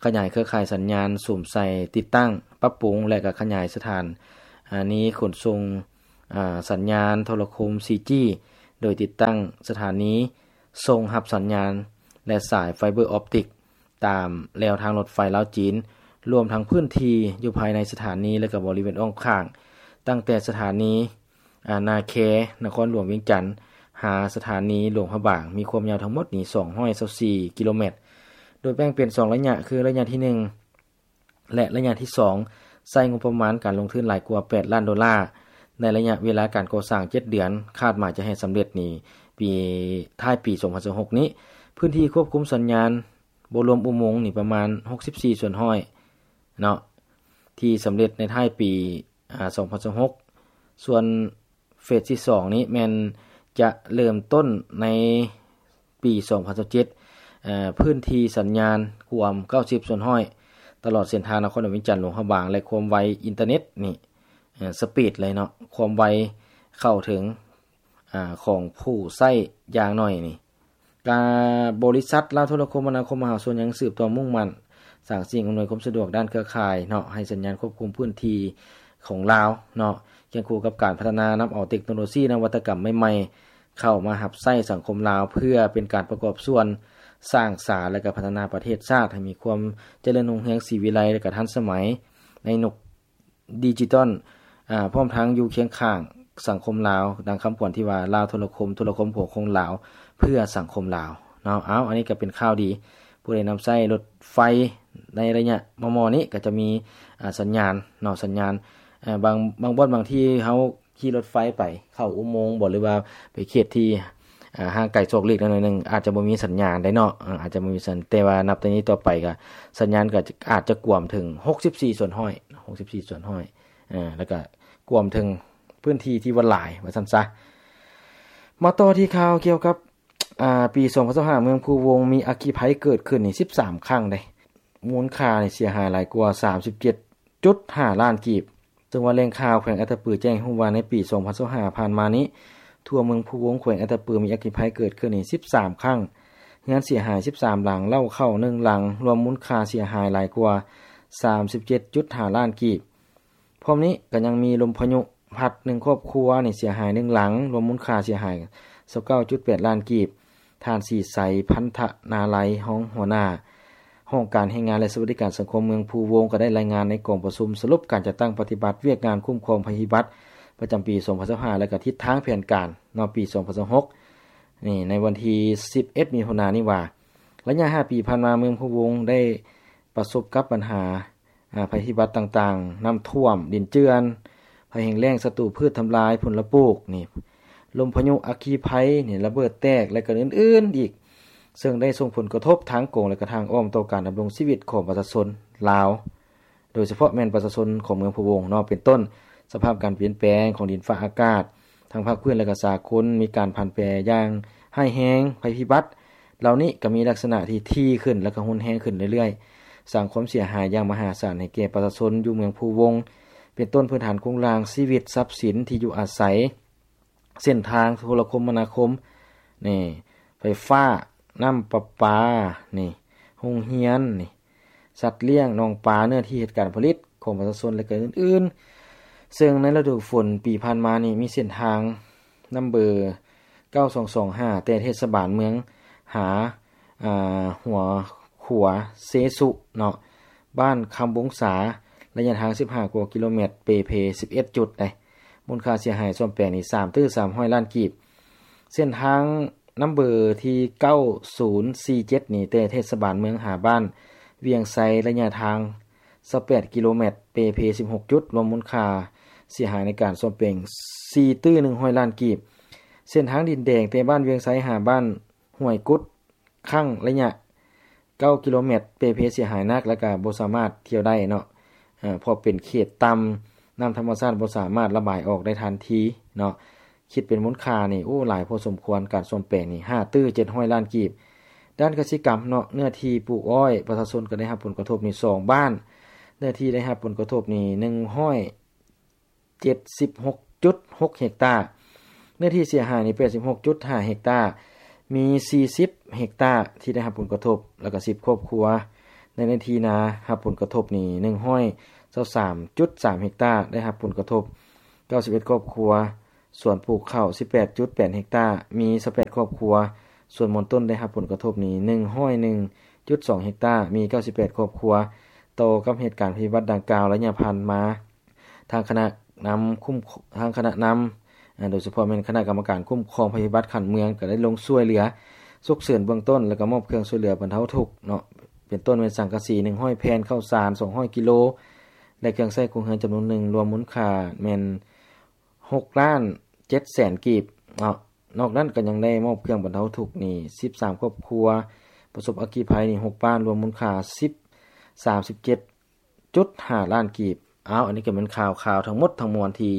ຂະຫຍາຍເຄືອຂ່າຍສັນຍານ ສຸມໃສ່ຕິດຕັ້ງ, ປັບປຸງ ແລະ ກະຂະຫຍາຍສະຖານ ອາ ນີຂົນສົ່ງ ອາ ສັນຍານໂທລະຄົມ ສີ່ຈີ ໂດຍຕິດຕັ້ງສະຖານີສົ່ງຮັບສັນຍານ ແລະ ສາຍໄຟເບີອອບຕິກ ຕາມແລວທາງລົດໄຟລາວ-ຈີນ, ລວມທັງພື້ນທີ່ຢູ່ພາຍໃນສະຖານີ ແລະ ກະບໍລິເວນອ້ອມຂ້າງ, ຕັ້ງແຕ່ສະຖານີ ອາ ນາແຄ ນະຄອນຫຼວງວຽງຈັນ ຫາສະຖານີຫຼວງພະບາງ ມີຄວາມຍາວທັງໝົດນີ້ ສອງຮ້ອຍຊາວສີ່ກິໂລແມັດ, ໂດຍແບ່ງເປັນສອງໄລຍະ ຄືໄລຍະທີໜຶ່ງ ແລະ ໄລຍະທີສອງ ໃຊ້ງົບປະມານການລົງທຶນຫຼາຍກວ່າແປດລ້ານໂດລາ. ໃນໄລຍະເວລາການກໍ່ສ້າງເຈັດເດືອນ, ຄາດໝາຍຈະໃຫ້ສຳເລັດນີ້ປີ ທ້າຍປີສອງພັນຊາວຫົກນີ້. ພື້ນທີ່ຄວບຄຸມສັນຍານ ບໍ່ລວມອຸໂມງນີ້ ປະມານຫົກສິບສີ່ສ່ວນຮ້ອຍເນາະ ທີ່ສຳເລັດໃນທ້າຍປີ ອາ ສອງພັນຊາວຫົກ. ສ່ວນເຟສທີສອງນີ້ແມ່ນຈະເລີ່ມຕົ້ນໃນປີສອງພັນຊາວເຈັດ, ເອີ ພື້ນທີ່ສັນຍານກວມເກົ້າສິບສ່ວນຮ້ອຍ ຕະຫຼອດເສັ້ນທາງນະຄອນຫຼວງວຽງຈັນ ຫຼວງພະບາງ ແລະ ຄວາມໄວອິນເຕີເນັດນີ້ ເອີ ສະປີດເລີຍເນາະ, ຄວາມໄວເຂົ້າເຖິງ ອາ ຂອງຜູ້ໃຊ້ຢ່າງໜ້ອຍນີ້. ກະ ບໍລິສັດລາວໂທລະຄົມມະນາຄົມມະຫາຊົນ ຍັງສືບຕໍ່ມຸ່ງໝັ້ນສ້າງສິ່ງອຳນວຍຄວາມສະດວກດ້ານເຄືອຂ່າຍເນາະ ໃຫ້ສັນຍານຄວບຄຸມພື້ນທີ່ຂອງລາວເນາະ, ຄຽງຄູ່ກັບການພັດທະນານຳເອົາເຕັກໂນໂລຊີນະວັດຕະກຳໃໝ່ໆເຂົ້າມາຮັບໃຊ້ສັງຄົມລາວ ເພື່ອເປັນການປະກອບສ່ວນສ້າງສາ ແລະ ກະພັດທະນາປະເທດຊາດໃຫ້ມີຄວາມຈະເລີນຮຸ່ງເຮືອງ ສີວິໄລ ແລະ ກະທັນສະໄໝໃນຍຸກ ດິຈິຕອນ ອາ ພ້ອມທັງຢູ່ຄຽງຂ້າງສັງຄົມລາວ, ດັ່ງຄຳຂວັນທີ່ວ່າ ລາວໂທລະຄົມ, ໂທລະຄົມຫົວໂຂງລາວ ເພື່ອສັງຄົມລາວເນາະ. ເອົາ ອັນນີ້ກໍເປັນຂ່າວດີ, ຜູ້ໃດນຳໃຊ້ລົດໄຟໃນໄລຍະມໍ່ໆນີ້ ກໍຈະມີ ອາ ສັນຍານເນາະ, ສັນຍານ ອາ ບາງ ບາງບ່ອນບາງທີ່ເຮົາຂີ່ລົດໄຟໄປເຂົ້າອຸໂມງບໍ ຫຼືວ່າໄປເຂດທີ່ ອ່າ ຫ່າງໄກສອກຫຼີກໜ້ອຍໜຶ່ງ ອາດຈະບໍ່ມີສັນຍານໄດ້ເນາະ ອາ ອາດຈະບໍ່ມີສັນ ແຕ່ວ່ານັບແຕ່ນີ້ຕໍ່ໄປກໍສັນຍານກໍອາດຈະກວມເຖິງຫົກສິບສີ່ສ່ວນຮ້ອຍ ຫົກສິບສີ່ສ່ວນຮ້ອຍ ເອີ ແລ້ວກໍກວມເຖິງພື້ນທີ່ທີ່ວ່າຫຼາຍ ວ່າຊັ້ນຊະ. ມາຕໍ່ທີ່ຂ່າວກ່ຽວກັບ ອ່າ ປີສອງພັນຊາວຫ້າ ເມືອງພູວົງມີອັກຄີໄພເກີດຂຶ້ນນີ້ສິບສາມຄັ້ງເດ້ ມູນຄ່ານີ້ເສຍຫາຍຫຼາຍກວ່າສາມສິບເຈັດຈຸດຫ້າລ້ານກີບ. ເຊິ່ງວ່າແຫຼ່ງຂ່າວແຂວງອັດຕະປືແຈ້ງໃຫ້ຮູ້ວ່າ ໃນປີສອງພັນຊາວຫ້າຜ່ານມານີ້ ທົ່ວເມືອງພູວົງ ແຂວງອັດຕະປື ມີອັກຄີໄພເກີດຂຶ້ນນີ້ສິບສາມຄັ້ງ, ເຮືອນເສຍຫາຍສິບສາມຫຼັງ, ເລົ້າເຂົ້າໜຶ່ງຫຼັງ, ລວມມູນຄ່າເສຍຫາຍຫຼາຍກວ່າສາມສິບເຈັດຈຸດຫ້າລ້ານກີບ. ພ້ອມນີ້ກໍຍັງມີລົມພາຍຸພັດໜຶ່ງຄອບຄົວນີ້ເສຍຫາຍໜຶ່ງຫຼັງ, ລວມມູນຄ່າເສຍຫາຍຊາວເກົ້າຈຸດແປດລ້ານກີບ. ທ່ານ ສີໄຊ ພັນທະນາໄລ ຮອງຫົວໜ້າຫ້ອງການແຮງງານ ແລະ ສະຫວັດດີການສັງຄົມເມືອງພູວົງ ກໍໄດ້ລາຍງານໃນກອງປະຊຸມສະຫຼຸບການຈັດຕັ້ງປະຕິບັດວຽກງານຄຸ້ມຄອງໄພພິບັດປະຈຳປີສອງພັນຊາວຫ້າ ແລະ ກະທິດທາງແຜນການເນາະ ປີສອງພັນຊາວຫົກ ນີ້ ໃນວັນທີສິບເອັດ ມິຖຸນານີ້ວ່າ ໄລຍະຫ້າປີຜ່ານມາ ເມືອງພູວົງໄດ້ປະສົບກັບບັນຫາ ອາ ໄພພິບັດຕ່າງໆ, ນ້ຳຖ້ວມ, ດິນເຈື່ອນ, ໄພແຫ້ງແລ້ງ, ສັດຕູພືດທຳລາຍຜົນລະປູກນີ້, ລົມພາຍຸອັກຄີໄພນີ້ ລະເບີດແຕກ ແລະ ກະອື່ນໆອີກ, ເຊິ່ງໄດ້ສົ່ງຜົນກະທົບທາງກົງ ແລະ ກະທາງອ້ອມຕໍ່ການດຳລົງຊີວິດຂອງປະຊາຊົນລາວ, ໂດຍສະເພາະແມ່ນປະຊາຊົນຂອງເມືອງພູວົງເນາະ, ເປັນຕົ້ນ ສະພາບການປ່ຽນແປງຂອງດິນຟ້າອາກາດ ທັງພາກພື້ນ ແລະ ກະສາກົນ ມີການຜັນແປຢ່າງຮ້າຍແຮງ, ໄພພິບັດເຫຼົ່ານີ້ກໍມີລັກສະນະທີ່ຖີ່ຂຶ້ນ ແລະ ກໍຮຸນແຮງຂຶ້ນເລື້ອຍໆ, ສ້າງຄວາມເສຍຫາຍຢ່າງມະຫາສານໃຫ້ແກ່ປະຊາຊົນຢູ່ເມືອງພູວົງ, ເປັນຕົ້ນພື້ນຖານໂຄງລ່າງຊີວິດ, ຊັບສິນ, ທີ່ຢູ່ອາໄສ, ເສັ້ນທາງໂທລະຄົມມະນາຄົມ, ນີ້, ໄຟຟ້າ, ນ້ຳປະປາ, ນີ້, ໂຮງຮຽນ, ນີ້, ສັດລ້ຽງ, ໜອງປາ, ເນື້ອທີ່ເຮັດການຜະລິດຂອງປະຊາຊົນ ແລະ ກໍອື່ນໆ. ເຊິ່ງໃນລະດູຝົນປີຜ່ານມານີ້ ມີເສັ້ນທາງນຳເບີເກົ້າສອງສອງຫ້າ ແຕ່ເທດສະບານເມືອງຫາ ອາ ຫົວຂົວເຊສຸເນາະ, ບ້ານຄຳວົງສາ, ໄລຍະທາງສິບຫ້າກວ່າກິໂລແມັດ, ເປ່ເພສິບເອັດຈຸດໃດ໋, ມູນຄ່າເສຍຫາຍສ້ອມແປງນີ້ສາມຕື້ສາມຮ້ອຍລ້ານກີບ. ເສັ້ນທາງນຳເບີທີເກົ້າສູນສີ່ເຈັດນີ້ ແຕ່ເທດສະບານເມືອງຫາບ້ານວຽງໄຊ, ໄລຍະທາງຊາວແປດກິໂລແມັດ, ເປ່ເພສິບຫົກຈຸດ, ລວມມູນຄ່າເສຍຫາຍໃນການສ້ອມແປງສີ່ຕື້ໜຶ່ງຮ້ອຍລ້ານກີບ. ເສັ້ນທາງດິນແດງ ແຕ່ບ້ານວຽງໄຊຫາບ້ານຫ້ວຍກຸດ, ຄັ້ງໄລຍະເກົ້າກິໂລແມັດ, ເປ່ເພເສຍຫາຍໜັກ ແລ້ວກະບໍ່ສາມາດທ່ຽວໄດ້ເນາະ, ເພາະເປັນເຂດຕ່ຳ, ນ້ຳທຳມະຊາດບໍ່ສາມາດລະບາຍອອກໄດ້ທັນທີເນາະ. ຄິດເປັນມູນຄ່ານີ້ ໂອ້ ຫຼາຍພໍສົມຄວນ, ການສ້ອມແປງນີ້ຫ້າຕື້ເຈັດຮ້ອຍລ້ານກີບ. ດ້ານກະສິກຳເນາະ, ເນື້ອທີ່ປູກອ້ອຍ ປະຊາຊົນກໍໄດ້ຮັບຜົນກະທົບນີ້ສອງບ້ານ, ເນື້ອທີ່ໄດ້ຮັບຜົນກະທົບນີ້ໜຶ່ງຮ້ອຍ ເຈັດສິບຫົກຈຸດຫົກເຮັກຕາ, ເນື້ອທີ່ເສຍຫາຍນີ້ແປດສິບຫົກຈຸດຫ້າເຮັກຕາ, ມີສີ່ສິບເຮັກຕາທີ່ໄດ້ຮັບຜົນກະທົບ ແລ້ວກໍສິບຄອບຄົວ. ໃນເນື້ອທີ່ນາຮັບຜົນກະທົບນີ້ໜຶ່ງຮ້ອຍຊາວສາມຈຸດສາມເຮັກຕາໄດ້ຮັບຜົນກະທົບ, ເກົ້າສິບເອັດຄອບຄົວ. ສວນປູກເຂົ້າສິບແປດຈຸດແປດເຮັກຕາ, ມີຊາວແປດຄອບຄົວ. ສວນໝອນຕົ້ນໄດ້ຮັບຜົນກະທົບນີ້ໜຶ່ງຮ້ອຍໜຶ່ງຈຸດສອງເຮັກຕາ, ມີເກົ້າສິບແປດຄອບຄົວ. ຕໍ່ກັບເຫດການໄພພິບັດດັ່ງກ່າວໄລຍະຜ່ານມາ, ທາງຄະນະນຳຄຸ້ມ ທາງຄະນະນຳ ອາ ໂດຍສະເພາະແມ່ນຄະນະກຳມະການຄຸ້ມຄອງໄພພິບັດຂັ້ນເມືອງ ກໍໄດ້ລົງຊ່ວຍເຫຼືອສຸກເສີນເບື້ອງຕົ້ນ ແລ້ວກໍມອບເຄື່ອງຊ່ວຍເຫຼືອບັນເທົາທຸກເນາະ, ເປັນຕົ້ນແມ່ນສັງກະສີໜຶ່ງຮ້ອຍແຜ່ນ, ເຂົ້າສານສອງຮ້ອຍກິໂລ ແລະ ເຄື່ອງໃຊ້ຄົວເຮືອນຈຳນວນໜຶ່ງ, ລວມມູນຄ່າແມ່ນຫົກລ້ານເຈັດແສນກີບເນາະ. ນອກນັ້ນກໍຍັງໄດ້ມອບເຄື່ອງບັນເທົາທຸກນີ້ສິບສາມຄອບຄົວ, ປະສົບອັກຄີໄພນີ້ຫົກບ້ານ, ລວມມູນຄ່າສິບ ສາມສິບເຈັດ ຈຸດຫ້າລ້ານກີບ. ອ້າວ ອັນນີ້ກໍແມ່ນຂ່າວ ຂ່າວທັງໝົດທັງມວນທີ່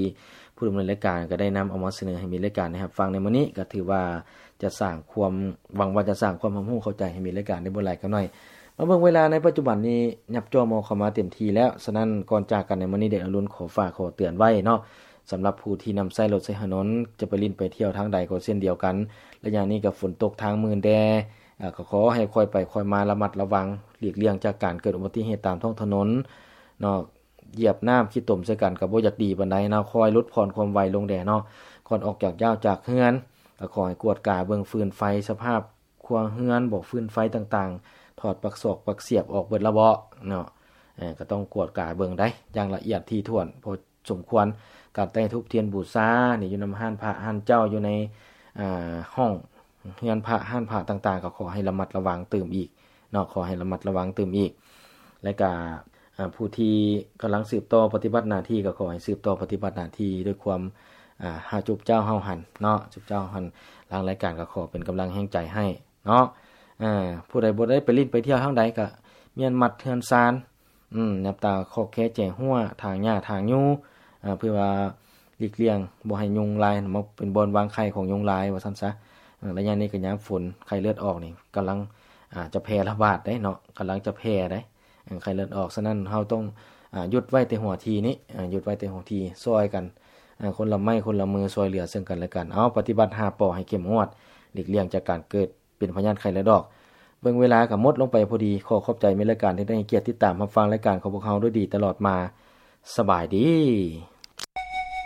ຜູ້ດຳເນີນລາຍການກໍໄດ້ນຳເອົາມາສະເໜີໃຫ້ມິດລາຍການໄດ້ຮັບຟັງໃນມື້ນີ້, ກໍຖືວ່າຈະສ້າງຄວາມ ຫວັງວ່າຈະສ້າງຄວາມຮັບຮູ້ເຂົ້າໃຈໃຫ້ມິດລາຍການໄດ້ບໍ່ຫຼາຍກໍໜ້ອຍ. ມາເບິ່ງເວລາໃນປັດຈຸບັນນີ້ ຍັບຈ່ອມເຂົ້າມາເຕັມທີ່ແລ້ວ, ສະນັ້ນ ກ່ອນຈາກກັນໃນມື້ນີ້ ເດດອາລຸນຂໍຝາກຂໍເຕືອນໄວ້ເນາະ, ສຳລັບຜູ້ທີ່ນຳໃຊ້ລົດໃຊ້ຖະໜົນ ຈະໄປຫຼິ້ນໄປທ່ຽວທາງໃດກໍເຊັ່ນດຽວກັນ, ໄລຍະນີ້ກໍຝົນຕົກທາງມື່ນແດ່, ອາ ກໍຂໍໃຫ້ຄ່ອຍໄປຄ່ອຍມາ ລະມັດລະວັງ, ຫຼີກລ່ຽງຈາກການເກີດອຸບັດຕິເຫດຕາມທ້ອງຖະໜົນເນາະ. ຢຽບນ້ຳຂີ້ຕົມໃສ່ກັນກໍບໍ່ຢາກດີປານໃດເນາະ, ຄ່ອຍຫຼຸດຜ່ອນຄວາມໄວລົງແດ່ເນາະ. ກ່ອນອອກຈາກຢ້າວຈາກເຮືອນ ກໍຂໍໃຫ້ກວດກາເບິ່ງຟືນໄຟ, ສະພາບຄົວເຮືອນບໍ ຟືນໄຟຕ່າງໆ, ຖອດປັກສອກປັກສຽບອອກເບິດແລ້ວບໍເນາະ. ເອີ ກໍຕ້ອງກວດກາເບິ່ງໄດ໋ຢ່າງລະອຽດຖີ່ຖ້ວນ ເພາະ ສົມຄວນ. ການໄຕ້ທູບທຽນບູຊານີ້ ຢູ່ນຳຮ້ານພະຮ້ານເຈົ້າ, ຢູ່ໃນ ອາ ຫ້ອງເຮືອນພະຮ້ານພະຕ່າງໆ ກໍຂໍໃຫ້ລະມັດລະວັງຕື່ມອີກເນາະ, ຂໍໃຫ້ລະມັດລະວັງຕື່ມອີກ. ແລະກະ ອາ ຜູ້ທີ່ກຳລັງສືບຕໍ່ປະຕິບັດໜ້າທີ່ ກໍຂໍໃຫ້ສືບຕໍ່ປະຕິບັດໜ້າທີ່ດ້ວຍຄວາມ ອ່າ ຫາຈຸບເຈົ້າເຮົາຫັ້ນເນາະ ຈຸບເຈົ້າເຮົາຫັ້ນ ທາງລາຍການກໍຂໍເປັນກຳລັງແຮງໃຈໃຫ້ເນາະ. ເອີ ຜູ້ໃດບໍ່ໄດ້ໄປຫຼິ້ນໄປທ່ຽວທາງໃດ ກໍມ້ຽນມັດເຮືອນຊານ ອືມ ແນມຕາຂອບແຄແຈຫົວ ຖາງຫຍ້າຖາງຢູ່ ເພື່ອວ່າຫຼີກລ່ຽງບໍ່ໃຫ້ຍຸງລາຍ ມາເປັນບ່ອນວາງໄຂ່ຂອງຍຸງລາຍວ່າຊັ້ນຊະ. ເອີ ໄລຍະນີ້ກໍຍາມຝົນ ໄຂ້ເລືອດອອກນີ້ກຳລັງ ອ່າ ຈະແຜ່ລະບາດເດ້ເນາະ ກຳລັງຈະແຜ່ເດ້ ເອີ ໄຂ້ເລືອດອອກ. ສະນັ້ນເຮົາຕ້ອງ ອ່າ ຢຸດໄວ້ແຕ່ຫົວທີນີ້ ອ່າ ຢຸດໄວ້ແຕ່ຫົວທີ ຊ່ອຍກັນ ອ່າ ຄົນລະໄມ້ຄົນລະມື ຊ່ວຍເຫຼືອເຊິ່ງກັນແລະກັນ. ເອົາ ປະຕິບັດຫ້າ ປ ໃຫ້ເຂັ້ມງວດ ຫຼີກລ່ຽງຈາກການເກີດ ເປັນພະຍາດໄຂ້ເລືອດອອກ. ເບິ່ງເວລາກໍໝົດລົງໄປພໍດີ. ຂໍຂອບໃຈແມ່ນລາຍການທີ່ໄດ້ໃຫ້ກຽດຕິດຕາມຮັບຟັງລາຍການຂອງພວກເຮົາດ້ວຍດີຕະຫຼອດມາ. ສະບາຍດີ.